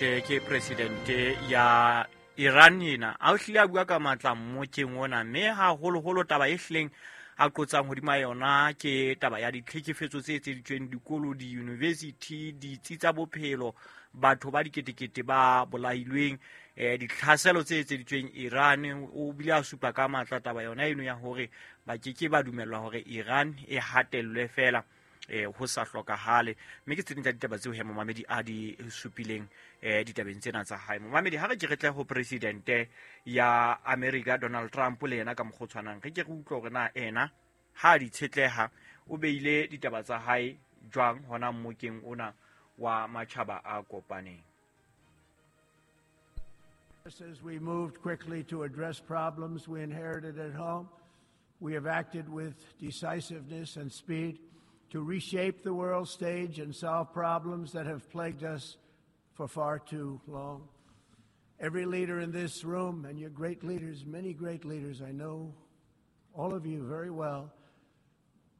Ke presidente ya Iran ena a o hlile a bua ka matla mmokeng ona, mme haholoholo taba e hlileng a qotsang hodima yona ke taba ya ditlhekefetso tse etseditsweng dikolo, di-university, ditsi tsa bophelo, batho ba diketekete ba bolailweng, ditlhaselo tse etseditsweng Iran. O bile a supa ka matla taba yona eno ya hore ba keke ba dumellwa hore Iran e hatellwe fela ho sa hlokahale. Mme ke tse ding tsa ditaba tseo he momamedi a di supileng ditabeng tsena tsa hae. Momamedi, ha re ke re tle ho presidente ya America Donald Trump, le yena ka mokgwa o tshwanang re ke re utlwe hore na ena ha a di tshetleha o beile ditaba tsa hae jwang hona mmokeng ona wa matjhaba a kopaneng. As we moved quickly to address problems we inherited at home, we have acted with decisiveness and speed to reshape the world stage and solve problems that have plagued us for far too long. Every leader in this room, and you're great leaders, many great leaders, I know all of you very well,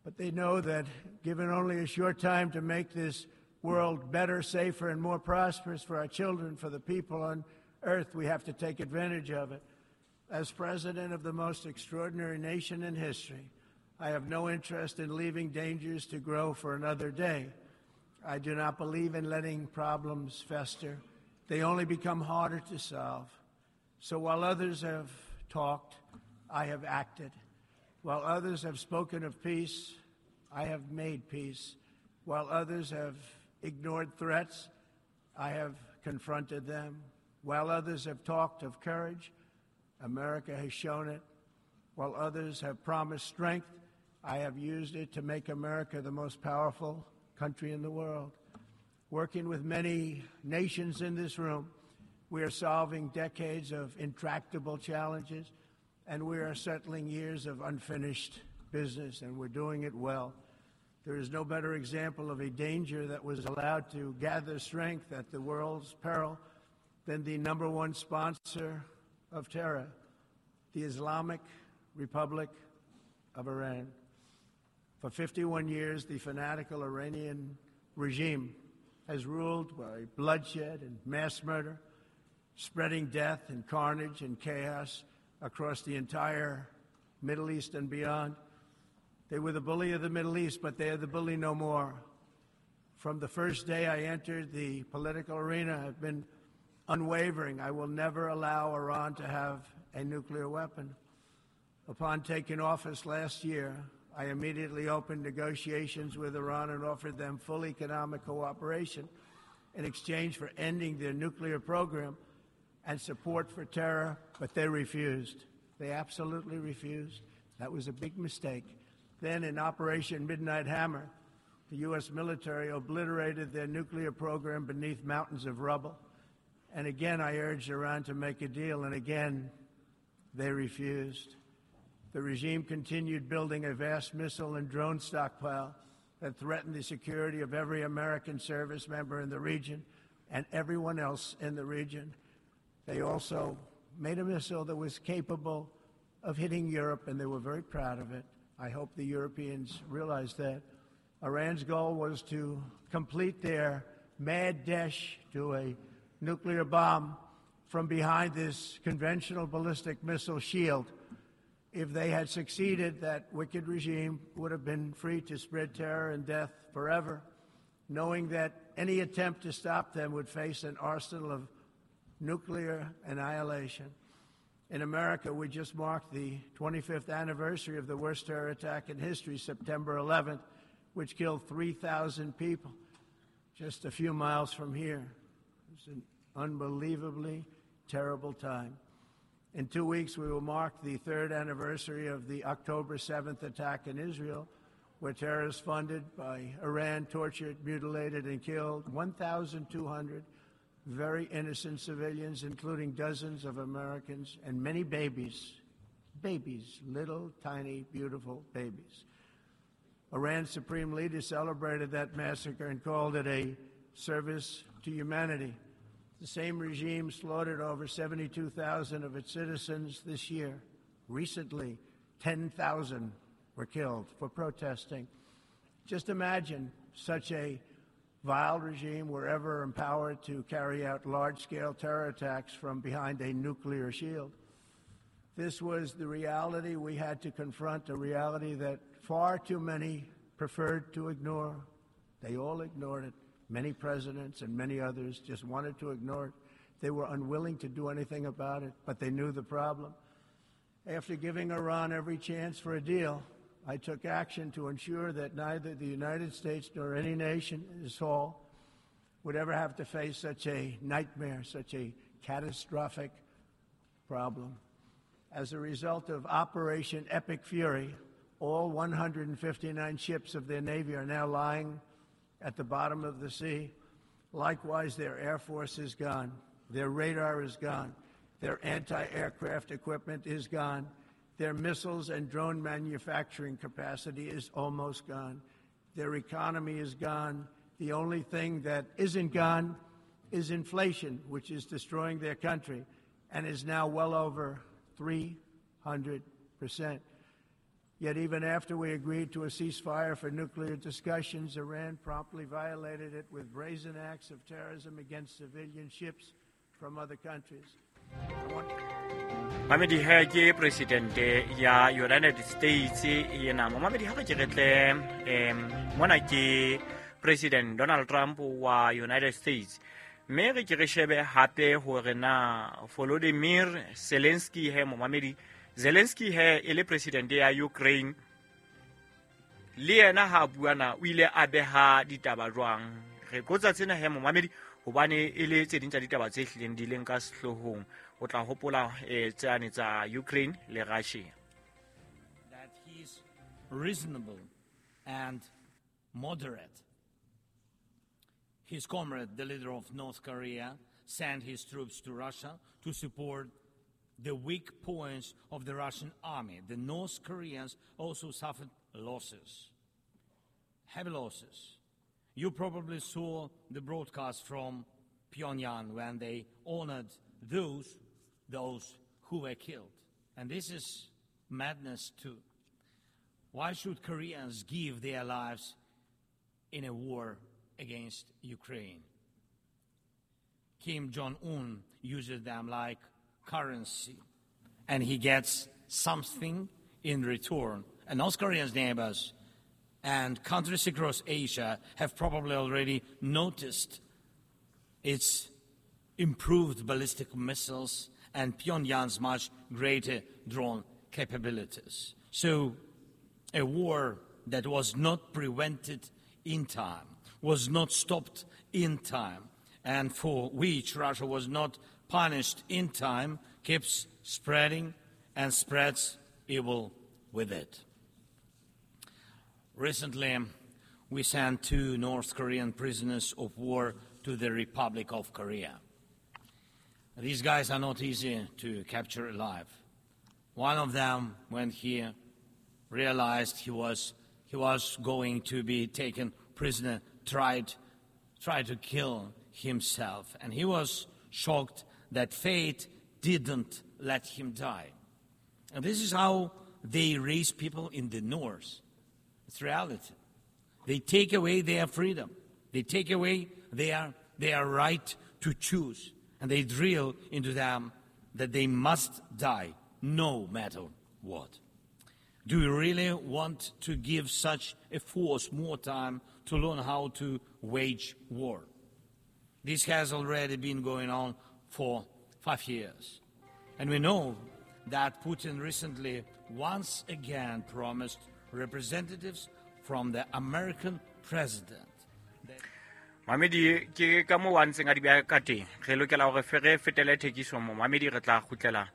but they know that given only a short time to make this world better, safer, and more prosperous for our children, for the people on earth, we have to take advantage of it. As president of the most extraordinary nation in history, I have no interest in leaving dangers to grow for another day. I do not believe in letting problems fester. They only become harder to solve. So while others have talked, I have acted. While others have spoken of peace, I have made peace. While others have ignored threats, I have confronted them. While others have talked of courage, America has shown it. While others have promised strength, I have used it to make America the most powerful country in the world. Working with many nations in this room, we are solving decades of intractable challenges, and we are settling years of unfinished business, and we're doing it well. There is no better example of a danger that was allowed to gather strength at the world's peril than the number one sponsor of terror, the Islamic Republic of Iran. For 51 years, the fanatical Iranian regime has ruled by bloodshed and mass murder, spreading death and carnage and chaos across the entire Middle East and beyond. They were the bully of the Middle East, but they are the bully no more. From the first day I entered the political arena, I've been unwavering. I will never allow Iran to have a nuclear weapon. Upon taking office last year, I immediately opened negotiations with Iran and offered them full economic cooperation in exchange for ending their nuclear program and support for terror, but they refused. They absolutely refused. That was a big mistake. Then in Operation Midnight Hammer, the U.S. military obliterated their nuclear program beneath mountains of rubble. And again, I urged Iran to make a deal, and again, they refused. The regime continued building a vast missile and drone stockpile that threatened the security of every American service member in the region and everyone else in the region. They also made a missile that was capable of hitting Europe, and they were very proud of it. I hope the Europeans realize that. Iran's goal was to complete their mad dash to a nuclear bomb from behind this conventional ballistic missile shield. If they had succeeded, that wicked regime would have been free to spread terror and death forever, knowing that any attempt to stop them would face an arsenal of nuclear annihilation. In America, we just marked the 25th anniversary of the worst terror attack in history, September 11th, which killed 3,000 people just a few miles from here. It was an unbelievably terrible time. In 2 weeks, we will mark the third anniversary of the October 7th attack in Israel, where terrorists funded by Iran tortured, mutilated, and killed 1,200 very innocent civilians, including dozens of Americans and many babies. Babies, little, tiny, beautiful babies. Iran's supreme leader celebrated that massacre and called it a service to humanity. The same regime slaughtered over 72,000 of its citizens this year. Recently, 10,000 were killed for protesting. Just imagine such a vile regime were ever empowered to carry out large-scale terror attacks from behind a nuclear shield. This was the reality we had to confront, a reality that far too many preferred to ignore. They all ignored it. Many presidents and many others just wanted to ignore it. They were unwilling to do anything about it, but they knew the problem. After giving Iran every chance for a deal, I took action to ensure that neither the United States nor any nation in this hall would ever have to face such a nightmare, such a catastrophic problem. As a result of Operation Epic Fury, all 159 ships of their Navy are now lying at the bottom of the sea. Likewise, their Air Force is gone. Their radar is gone. Their anti-aircraft equipment is gone. Their missiles and drone manufacturing capacity is almost gone. Their economy is gone. The only thing that isn't gone is inflation, which is destroying their country and is now well over 300%. Yet even after we agreed to a ceasefire for nuclear discussions, Iran promptly violated it with brazen acts of terrorism against civilian ships from other countries. Mamedi he ke presidente ya United States yena. Mamedi ha re ke re tle mona ke President Donald Trump wa United States. Mme re ke re shebe hape hore na Volodymyr Zelensky he, momamedi, Zelensky he e le president ya Ukraine, le yena ha bua na o ile a beha ditaba jwang. Re qotsa tsena he, momamedi, hobane e le tse ding tsa ditaba tse hlileng di leng ka sehloohong. O tla hopola tsane tsa Ukraine le Russia. That he's reasonable and moderate. His comrade, the leader of North Korea, sent his troops to Russia to support the weak points of the Russian army. The North Koreans also suffered losses, heavy losses. You probably saw the broadcast from Pyongyang when they honored those who were killed. And this is madness too. Why should Koreans give their lives in a war against Ukraine? Kim Jong-un uses them like currency, and he gets something in return. And North Korea's neighbors and countries across Asia have probably already noticed its improved ballistic missiles and Pyongyang's much greater drone capabilities. So a war that was not prevented in time, was not stopped in time, and for which Russia was not punished in time, keeps spreading and spreads evil with it. Recently, we sent 2 North Korean prisoners of war to the Republic of Korea. These guys are not easy to capture alive. One of them, when he realized he was going to be taken prisoner, tried to kill himself, and he was shocked that fate didn't let him die. And this is how they raise people in the North. It's reality. They take away their freedom. They take away their right to choose. And they drill into them that they must die, no matter what. Do you really want to give such a force more time to learn how to wage war? This has already been going on for 5 years. And we know that Putin recently once again promised representatives from the American president. Mamedi ke ka mo wa ntseng a di beha ka teng. Re lokela hore re fetele thekiso mo mamedi, re tla kgutlela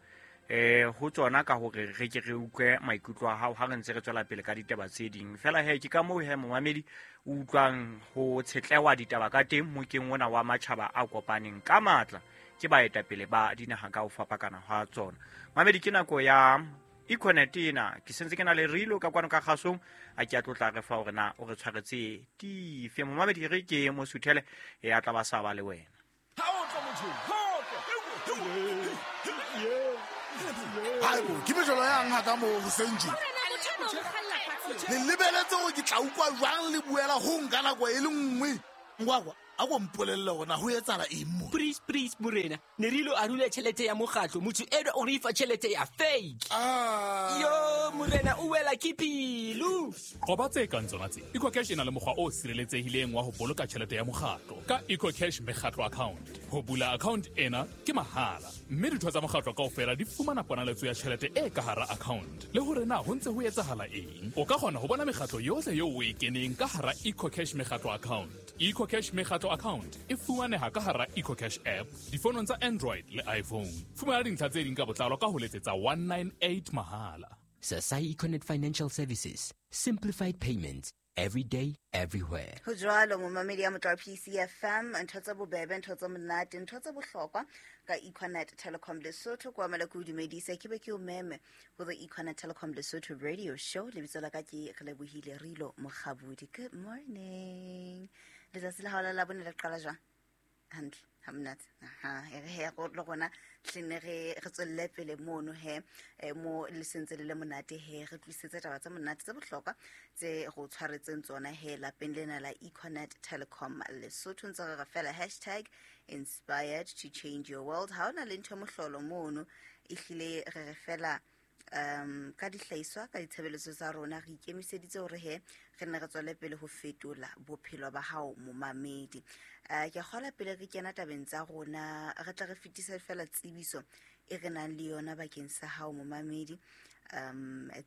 ho tsona ka hore re ke re utlwe maikutlo a hao ha re ntse re tswela pele ka ditaba tse ding. Fela he ke ka moo he momamedi o utlwang ho tshetlewa ditaba ka teng mokeng ona wa matjhaba a kopaneng ka matla ke baetapele ba dinaha ka ho fapakana ha tsona. Mamedi ke nako ya Econet ena ke sentse ke na le rilo ka kwano ka kgasong a ke a tlotla re fa hore na o re tshwaretse dife. Momamedi re ke mo suthele e a tla ba sa ba le wena. Ke mejolo yang ha ka mo hoseng tje. Le lebeletse hore ke tla utlwa jwang le buela ho nka nako e le nngwe. Ngwakwa a ko mpolelle hore na ho etsahala eng mo. Please, please, morena, ne re ilo arula tjhelete ya mokgatlo, motho enwa o re fa tjhelete ya fake. Yo, morena, o wela ke pelo. Qoba tse kang tsona tse. EcoCash e na le mokgwa o sireletsehileng wa ho boloka tjhelete ya mokgatlo ka EcoCash mekgatlo account. Ho bula account ena ke mahala, mme ditho tsa mokgatlo kaofela di fumana ponaletso ya tjhelete e ka hara account. Le hore na ho ntse ho etsahala eng. O ka kgona ho bona mekgatlo yohle eo o e keneng ka hara EcoCash mekgatlo account. EcoCash mekgatlo account e fumaneha ka hara EcoCash app difonong tsa Android le iPhone. Fumana dintlha tse ding ka botlalo ka ho letsetsa 198 mahala. Sasai Econet Financial Services, simplified payments every day, everywhere. Ho jwalo momamedi ya motho wa PCFM, ntho tsa bobebe, ntho tsa monate, ntho tsa bohlokwa ka Econet Telecom Lesotho. Kwa mala ke o dumedise, ke be ke o meme ho the Econet Telecom Lesotho radio show. Lebitso la ka ke Relebohile Rilo Mokgabudi. Good morning. Letsatsi la hao la Labone le qala jwang? Hantle, ha monate. Aha, e re he go le rona tlene re tswelle pele mono he, mo le sentse le le monate he, re tlisetse taba tsa monate tse bohlokwa tse go tshwaretseng tsona he lapeng lena la Econet Telecom Lesotho. Ntse re fela hashtag inspired to change your world. Ha ona le ntho mohlolo mono, ehlile re re fela ka dihlahiswa ka ditshebeletso tsa rona re ikemiseditse hore he re nne re tswele pele ho fetola bophelo ba hao momamedi. Ke kgola pele re kena tabeng tsa rona, re tla re fetisa fela tsebiso e re nang le yona bakeng sa hao momamedi.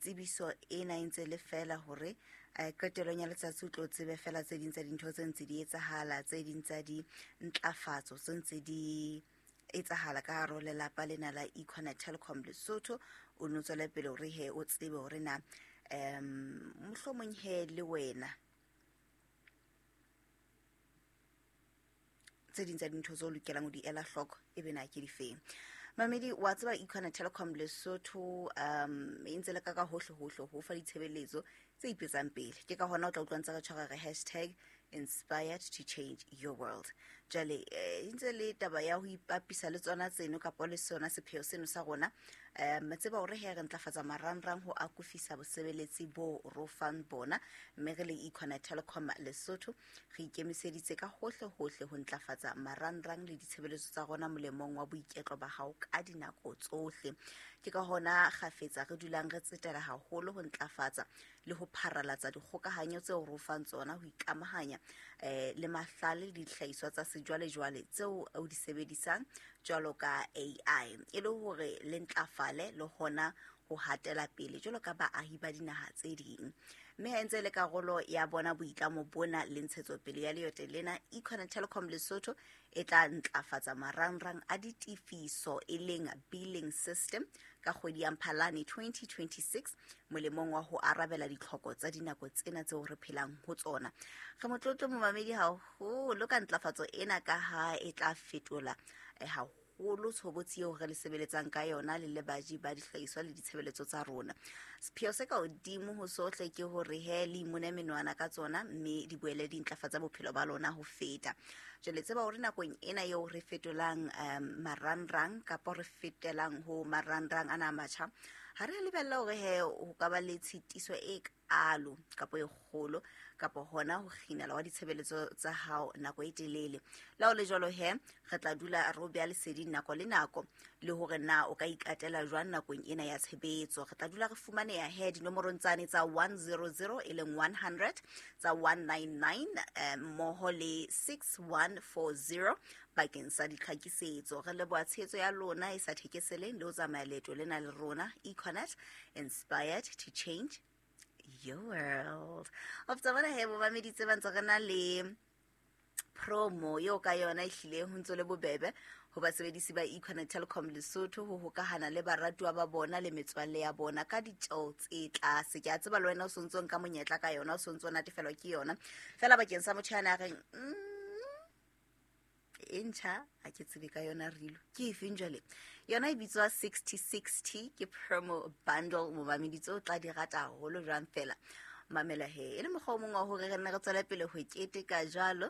Tsebiso ena e ntse le fela hore qetellong ya letsatsi o tlo tsebe fela tse ding tsa dintho tse ntse di etsahala, tse ding tsa dintlafatso tse ntse di etsahala ka hare ho lelapa lena la Econet Telecom Lesotho. O no tswele pele hore he o tsebe hore na mohlomong he le wena tse ding tsa dintho tseo o lokelang ho di ela hloko e be na ke difeng. Mamedi, wa tseba Econet Telecom Lesotho e ntse le ka ka hohle hohle ho fa ditshebeletso tse ipetsang pele. Ke ka hona o tla utlwa ntse re tshwara re hashtag inspired to change your world. Jwale ntse le taba ya ho ipapisa le tsona tseno kapa le sona sepheo seno sa rona. Tseba hore he re ntlafatsa marangrang ho akofisa bosebeletsi bo ro fang bona, mme re le Econet Telecom Lesotho re ikemiseditse ka hohle hohle ho ntlafatsa marangrang le ditshebeletso tsa rona molemong wa boiketlo ba hao ka dinako tsohle. Ke ka hona kgafetsa re dulang re tsetela haholo ho ntlafatsa le ho pharalatsa dikgokahanyo tseo ro fang tsona ho ikamahanya le mahlale le dihlahiswa tsa sejwalejwale tseo o di sebedisang jwalo ka AI, e le hore le ntlafale le hona ho hatela pele jwalo ka baahi ba dinaha tse ding. Mme ha ntse le karolo ya bona boitlamo bona le ntshetsopele ya leoto lena, Econet Telecom Lesotho e tla ntlafatsa marangrang a ditefiso e leng billing system ka kgwedi ya Mphalane 2026 molemong wa ho arabela ditlhoko tsa dinako tsena tseo re phelang ho tsona. Re motlotlo momamedi haholo ka ntlafatso ena ka ha e tla fetola haholo tshobotsi eo re le sebeletsang ka yona le le baji ba dihlahiswa le ditshebeletso tsa rona. Sepheo se ka hodimo ho sohle ke hore he le imone menwana ka tsona mme di boele di ntlafatsa bophelo ba lona ho feta. Jwale tseba hore nakong ena eo re fetolang marangrang kapa re fetelang ho marangrang ana a matjha, ha re lebella hore he ho ka ba le tshitiso e kalo kapa e kgolo kapa hona ho kginela wa ditshebeletso tsa hao nako e telele. Le ha ho le jwalo he re tla dula re o beha leseding nako le nako le hore na o ka ikatela jwang nakong ena ya tshebetso. Re tla dula re fumaneha he dinomorong tsane tsa 100 e leng 100, tsa 199 mmoho le 6140 bakeng sa ditlhakisetso. Re leboha tshehetso ya lona e sa thekeseleng le ho tsamaya leeto lena le rona. Econet, inspired to change your world. Of tsa bona he bomamedi tse ba ntse re na le promo eo ka yona e hlile ho ntso le bobebe ho basebedisi ba Econet Telecom Lesotho ho hokahana le baratuwa ba bona le metswalle ya bona ka ditjeo tse tlase. Ke a tseba le wena o sontso nka monyetla ka yona, o sontso natefelwa ke yona. Fela bakeng sa motho ya na reng e ntjha ha ke tsebe ka yona rilo ke efeng jwale. Yona e bitswa 6060, ke promo bundle momamedi tse o tla di rata haholo jwang fela. Mamela he e le mokgwa o mongwe wa hore re nne re tswele pele ho keteka jwalo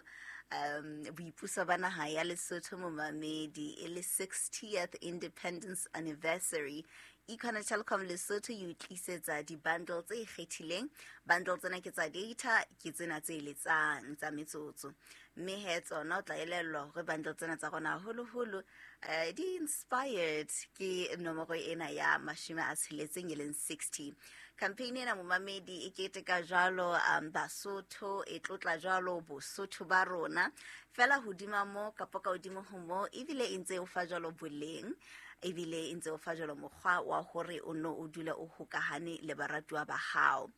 boipuso ba naha ya Lesotho momamedi, e le 60th Independence Anniversary Econet Telkom Lesotho e o tlisetsa di-bundle tse ikgethileng. Bundle tsena ke tsa data, ke tsena tse letsang tsa metsotso. Mme he tsona o tla elellwa hore bundle tsena tsa rona haholoholo di inspired ke nomoro ena ya 60 e leng 60. Campaign ena momamedi e keteka jwalo Basotho, e tlotla jwalo Bosotho ba rona. Fela hodima mo kapa ka hodimo ho mo, ebile e ntse o fa jwalo boleng, ebile e ntse o fa jwalo mokgwa wa hore o no o dule o hokahane le baratuwa ba hao.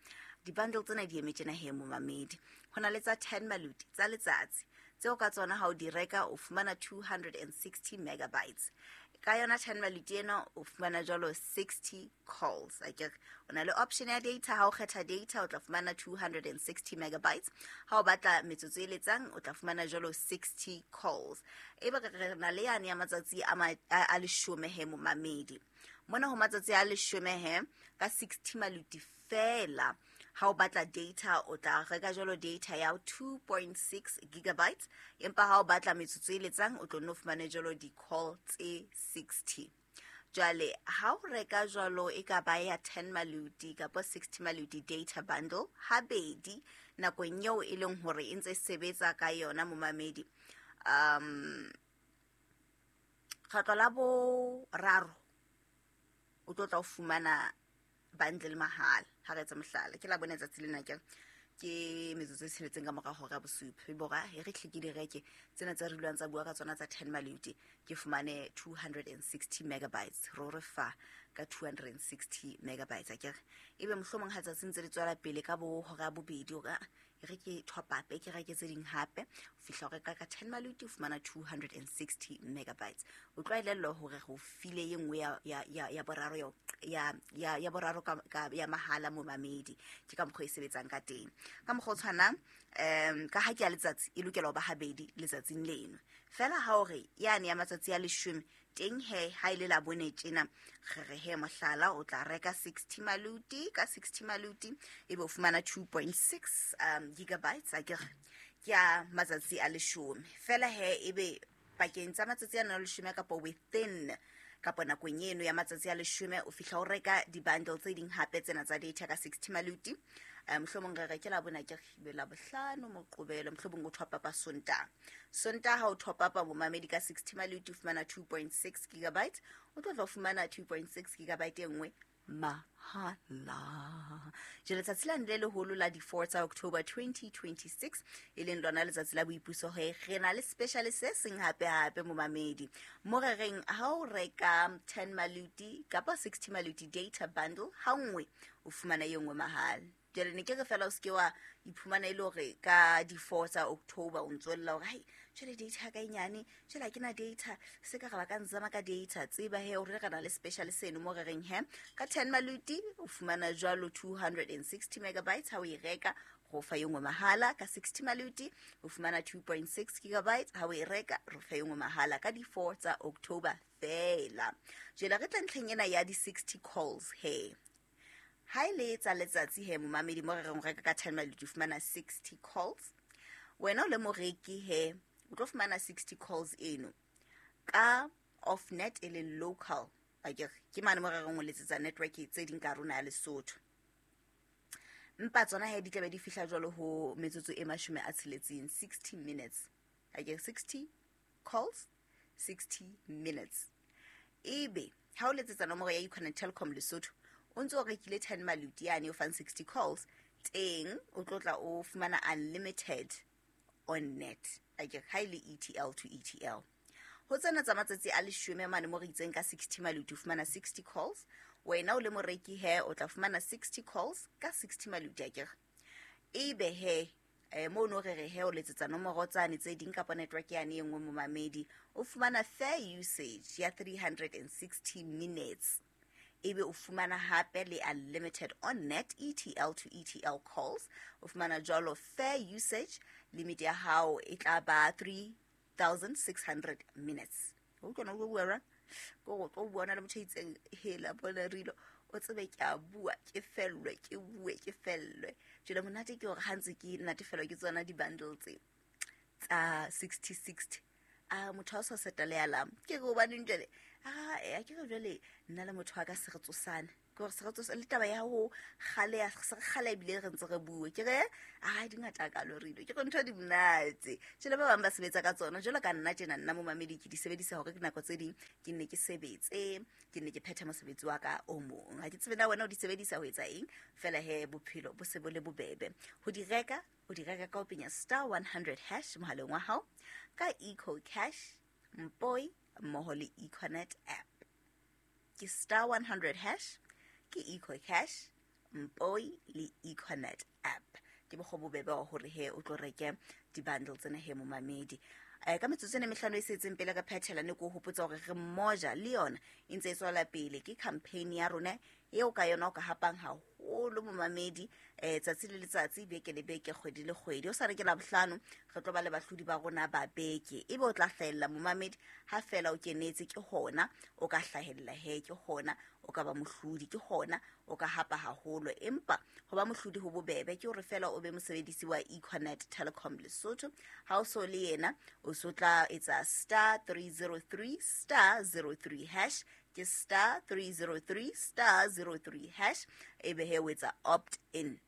Di-bundle tsena di eme tjena he momamedi. Ho na le tsa 10 maluti tsa letsatsi, tseo ka tsona ha o di reka o fumana 260 megabytes. Ka yona 10 maluti ena o fumana jwalo 60 calls. Akere o na le option ya data, ha o kgetha data o tla fumana 260 megabytes. Ha o batla metsotso e letsang o tla fumana jwalo 60 calls. Ebe re na le yane ya matsatsi a 10 he momamedi. Mona ho matsatsi a 10 he ka 60 maluti fela. Ha o batla data o tla reka jwalo data ya 2.6 gigabytes, empa ha o batla metsotso e letsang o tlo nno fumane jwalo di-call tse 60. Jwale ha o reka jwalo e ka ba ya 10 maluti kapa 60 maluti data bundle habedi nakong eo e leng hore e ntse sebetsa ka yona momamedi, kgetlo la boraro o tlo tla o fumana bundle mahala. Ha re etsa mohlala, ke la bone tsatsi lena ke metsotso e 6 ka mora hora ya bosupa. E bora e re hle ke di reke tsena tse re dulwang tsa bua ka tsona tsa 10 maluti, ke fumane 260 megabytes. Ro re fa ka 260 megabytes akere. Ebe mohlomong ha tsatsi ntse le tswela pele ka bo hora ya bobedi, o ka e re ke top up, ke reke tse ding hape, o fihla o reka ka 10 maluti o fumana 260 megabytes. O tlwaelellwa hore go file e nngwe ya boraro ya boraro ka ya mahala momamedi. Ke ka mokgwa e sebetsang ka teng. Ka mokgwa o tshwanang, ka ha ke ya letsatsi e lokela ho ba habedi letsatsing leno. Fela ha o re yane ya matsatsi a 10 teng he ha ile la bone tjena, re re he mohlala o tla reka 60 maluti, ka 60 maluti ebe o fumana 2.6 gigabytes akere ke ya matsatsi a 10. Fela he ebe pakeng tsa matsatsi a 10 kapa within kapa nakong eno ya matsatsi a 10 o fihla o reka di-bundle tse ding hape tsena tsa data ka 60 maluti. Mohlomong re reke la bona ke be la bohlano Moqobelo, mohlomong o top up Sontaha. Sontaha ha o top up momamedi ka 60 maluti o fumana 2.6 gigabytes, o tlo tla fumana 2.6 gigabyte e nngwe mahala. Jwale letsatsi lane le leholo la di-4 tsa October 2026 e leng lona letsatsi la boipuso, he re na le special se seng hape hape momamedi. Mo re reng ha o reka 10 maluti kapa 60 maluti data bundle ha nngwe o fumana e nngwe mahala. Jwale ne ke re fela o seke wa iphumana e le hore ka di-4 tsa October o ntso lla hore hai jwale data ya ka e nyane, jwale ha ke na data, se ka re ba ka nzama ka data. Tseba he hore re na le special seno mo re reng he ka 10 maluti o fumana jwalo 260 megabytes ha o e reka, go fa e nngwe mahala. Ka 60 maluti o fumana 2.6 gigabytes ha o e reka, ro fa e nngwe mahala ka di-4 tsa October fela. Jwale re tla ntlheng ena ya di-60 calls he. Ha e le tsa letsatsi he momamedi, mo re reng o reka ka 10 maluti o fumana 60 calls. Wena o le moreki he o tlo fumana 60 calls eno ka off net e leng local akere, ke mane mo re reng o letsetsa network tse ding ka rona ya Lesotho. Mpa tsona he di tlabe di fihla jwalo ho metsotso e 60, 60 minutes akere, 60 calls 60 minutes. Ebe ha o letsetsa nomoro ya Econet Telkom Lesotho o ntso o rekile 10 maluti yane o fang 60 calls teng, o tlo tla o fumana unlimited on net akere, ha e le ETL to ETL. Ho tsena tsa matsatsi a 10 mane mo re itseng ka 60 maluti o fumana 60 calls. Wena o le moreki he o tla fumana 60 calls ka 60 maluti akere. Ebe he mo no re re he o letsetsa nomoro tsane tse ding kapa network yane e nngwe momamedi, o fumana fair usage ya 360 minutes. Ebe o fumana hape le unlimited on net ETL to ETL calls. O fumana jwalo fair usage limit ya hao e tla ba 3600 minutes. O kgona ho bua ra? Ko go tlo bona le motho a itseng hela bona rilo o tsebe ke a bua ke fellwe ke bue ke fellwe. Jwale monate ke hore ha ntse ke natefelwa ke tsona di-bundle tse tsa 60 60. A motho a sa seta le alarm. Ke re hobaneng jwale? A ke re jwale nna le motho wa ka se re tsosane. Ke hore se re tsosane le taba ya ho kgale se re kgale ebile re ntse re bue. Ke re a di ngata ka lorilo. Ke re ntho di monate. Jwale ba bang ba sebetsa ka tsona. Jwalo ka nna tjena nna momamedi ke di sebedisa hore ke nako tse ding ke nne ke sebetse, ke nne ke phethe mosebetsi wa ka o mong. Ha ke tsebe na wena o di sebedisa ho etsa eng, fela he bophelo bo se bo le bobebe. Ho di reka, o di reka ka ho penya *100# mohaleng wa hao ka Eco Cash, Mpoi mmoho le Econet app. Ke *100# ke Eco Cash, Mpoi le Econet app. Ke mokgwa bobebe wa hore he o tlo reke di-bundle tsena he momamedi. Ka metsotso ena mehlano e setseng pele ka phethela ne ke o hopotsa hore re mmoja le yona e ntse e tswela pele. Ke campaign ya rona eo ka yona o ka hapang haholo momamedi, tsatsi le letsatsi, beke le beke, kgwedi le kgwedi. O sa re ke Labohlano re tlo ba le bahlodi ba rona ba beke. Ebe o tla hlahella momamedi ha fela o kenetse, ke hona o ka hlahella he, ke hona o ka ba mohlodi, ke hona o ka hapa haholo. Empa ho ba mohlodi ho bobebe ke hore fela o be mosebedisi wa Econet Telecom Lesotho. Ha o so le yena o so tla etsa *303 *03#, ke *303 *03# ebe he o etsa opt in.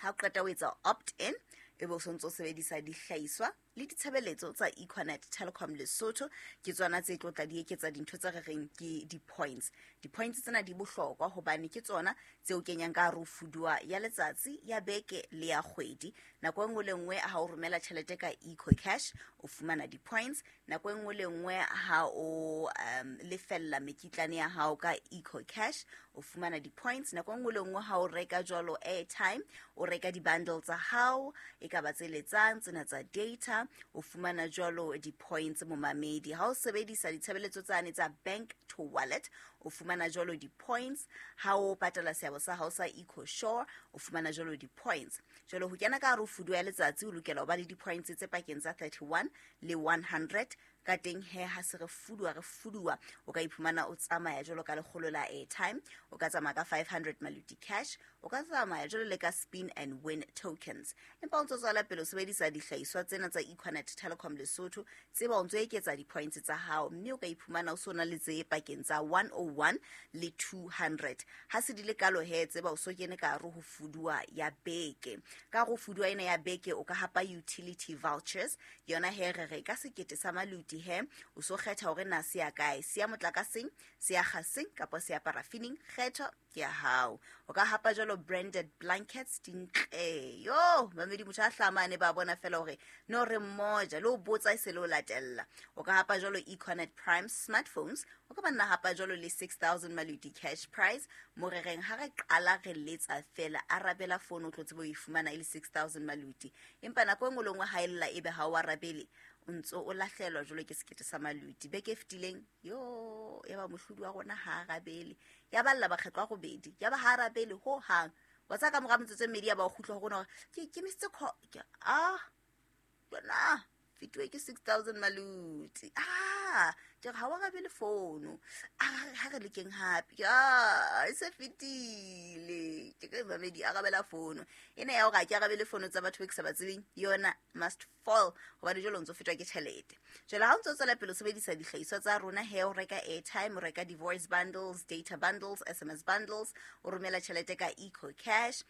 Ha o qeta o etsa opt in, ebe o sontso sebedisa dihlahiswa le ditshebeletso tsa Econet Telecom Lesotho. Ke tsona tse tlo tla di eketsa dintho tse re reng ke di-points. Di-points tsena di bohlokwa hobane ke tsona tse o kenyang ka hare ho fuduwa ya letsatsi, ya beke le ya kgwedi. Nako e nngwe le nngwe ha o romela tjhelete ka Eco Cash o fumana di-points. Nako e nngwe le nngwe ha o lefella mekitlane ya hao ka Eco Cash o fumana di-points. Nako e nngwe le nngwe ha o reka jwalo airtime, o reka di-bundle tsa hao, e ka ba tse letsang tsena tsa data, o fumana jwalo di-points momamedi. Ha o sebedisa ditshebeletso tsane tsa bank to wallet, o fumana jwalo di-points. Ha o patala seabo sa hao sa Eco Shore, o fumana jwalo di-points. Jwalo ho kena ka hare ho fuduwa ya letsatsi o lokela ho ba le di-points tse pakeng tsa 31 le 100. Ka teng he ha se re fuduwa, o ka iphumana o tsamaya jwalo ka lekgolo la airtime, o ka tsamaya ka 500 maluti cash, o ka tsamaya jwalo le ka spin and win tokens. Empa o ntso tswela pele o sebedisa dihlahiswa tsena tsa Econet Telecom Lesotho, tseba o ntso eketsa di-points tsa hao, mme o ka iphumana o so na le tse pakeng tsa 101 le 200. Ha se di le kalo he, tseba o so kene ka hare ho fuduwa ya beke. Ka hare ho fuduwa ena ya beke o ka hapa utility vouchers. Yona he re re ka sekete sa maluti he o so kgetha hore na se ya kae, se ya motlakaseng, se ya gaseng kapa se ya parafining, kgetho ke ya hao. O ka hapa jwalo branded blankets dintle. Yo, mamedi motho a hlamane ba bona fela hore no re mmoja le o botsa e se le o latella. O ka hapa jwalo Econet Prime smartphones, o ka ba nna hapa jwalo le 6000 maluti cash prize. Mo re reng ha re qala re letsa fela arabela phone o tlo tsebe ho e fumana e le 6000 maluti. Empa nako e nngwe le nngwe ha e lla ebe ha o arabele, o ntso o lahlelwa jwalo ke sekete sa maluti. Beke e fetileng yo ya ba mohlodi wa rona ha arabele, ya balla bakgetlo a robedi, ya ba ha arabele ho hang. Wa tsa ka mora metsotso e mmedi ya ba o kgutla ho rona hore ke missed call, ke a bona fituwe ke 6000 maluti. Ke re ha o arabele fono, ha re lekeng hape, e se fetile. Ke re mamedi arabela fono ena ya hore ha ke arabele fono tsa batho be ke sa ba tsebeng, yona must fall, hobane jwale o ntso fetwa ke tjhelete. Jwale ha o ntso tswela pele o sebedisa dihlahiswa tsa rona he, o reka airtime, o reka di-voice bundles, data bundles, SMS bundles, o romela tjhelete ka Eco Cash.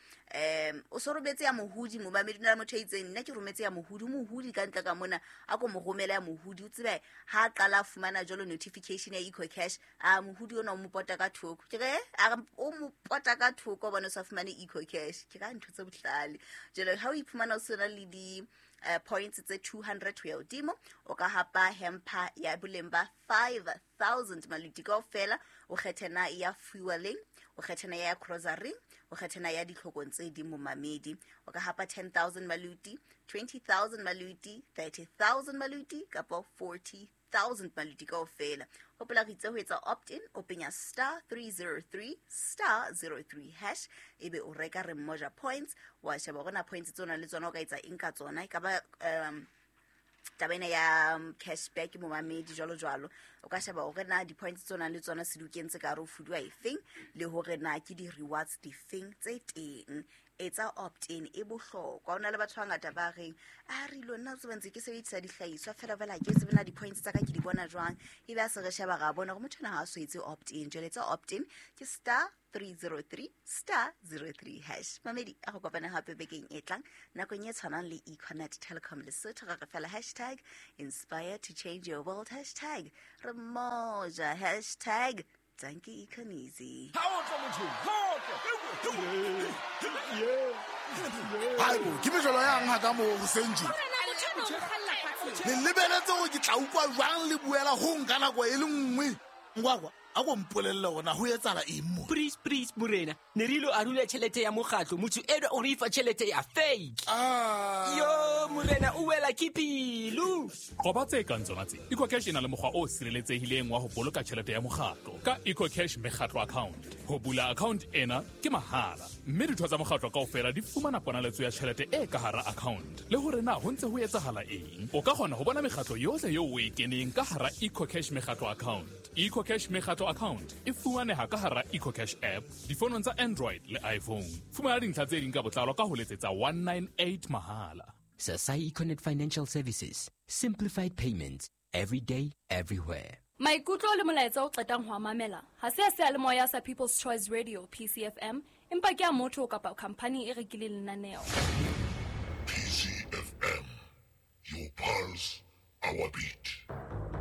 O so rometse ya mohudi momamedi, o na le motho a itseng nna ke rometse ya mohudi, mohudi ka ntle ka mona a ko mo romela ya mohudi, o tsebe ha qala a fumana jwalo notification ya Eco Cash, a mohudi ona o mo pota ka thoko. Ke re a o mo pota ka thoko bona o sa fumane Eco Cash. Ke ka ntho tse bohlale. Jwale ha o iphumana o sena le di points tse 200 ho ya hodimo, o ka hapa hamper ya boleng ba 5000 maluti kaofela. O kgethe na ya fueling, o kgethe na ya grocery, o kgethe na ya ditlhokong tse ding momamedi. O ka hapa 10000 maluti, 20000 maluti, 30000 maluti kapa 40000 maluti kaofela. Hopola re itse ho etsa opt-in, o penya *303 *03# ebe o reka re mmoja points. Wa sheba hore na points tsona le tsona o ka etsa eng ka tsona, e ka ba taba ena ya cashback momamedi jwalo jwalo. O ka sheba hore na di-points tsona le tsona se di kentse ka hare ho fuduwa efeng, le hore na ke di-rewards difeng tse teng. Etsa opt in, e bohlokwa. O na le batho ba bangata ba reng a re ilo nna o tseba ntse ke sebedisa dihlahiswa fela fela, ke tsebe na di-points tsa ka ke di bona jwang. Ebe a se re sheba, ra bona gore motho ena ha a so etse opt in. Jwale etsa opt in, ke *303*03#. Mamedi, a go kopane gape bekeng e tlang nakong e tshwanang le Econet Telecom Lesotho. Re re fela #inspire to change your world, #remoja, #dankie Econeasy. Haibo, ke mejolo yang ha ka moo hoseng tje? Le lebeletse hore ke tla utlwa jwang le buela ho nka nako e le nngwe? Ngwakwa, a ko mpolelle hore na ho etsahala eng mo? Please, please, morena, ne re ilo arula tjhelete ya mokgatlo, motho enwa o re fa tjhelete ya fake. Yo, morena, o wela ke pelo. Qoba tse kang tsona tse. EcoCash e na le mokgwa o sireletsehileng wa ho boloka tjhelete ya mokgatlo ka EcoCash mekgatlo account. Ho bula account ena ke mahala, mme ditho tsa mokgatlo kaofela di fumana ponaletso ya tjhelete e ka hara account le hore na ho ntse ho etsahala eng. O ka kgona ho bona mekgatlo yohle eo o e keneng ka hara EcoCash mekgatlo account. EcoCash mekgatlo account e fumaneha ka hara EcoCash app difonong tsa Android le iPhone. Fumana dintlha tse ding ka botlalo ka ho letsetsa 198 mahala. Sasai Econet Financial Services. Simplified payments. Every day, everywhere. Maikutlo le molaetsa o qetang ho a mamela ha se a seyalemoya sa People's Choice Radio, PCFM, empa ke a motho kapa khamphani e rekileng lenaneo.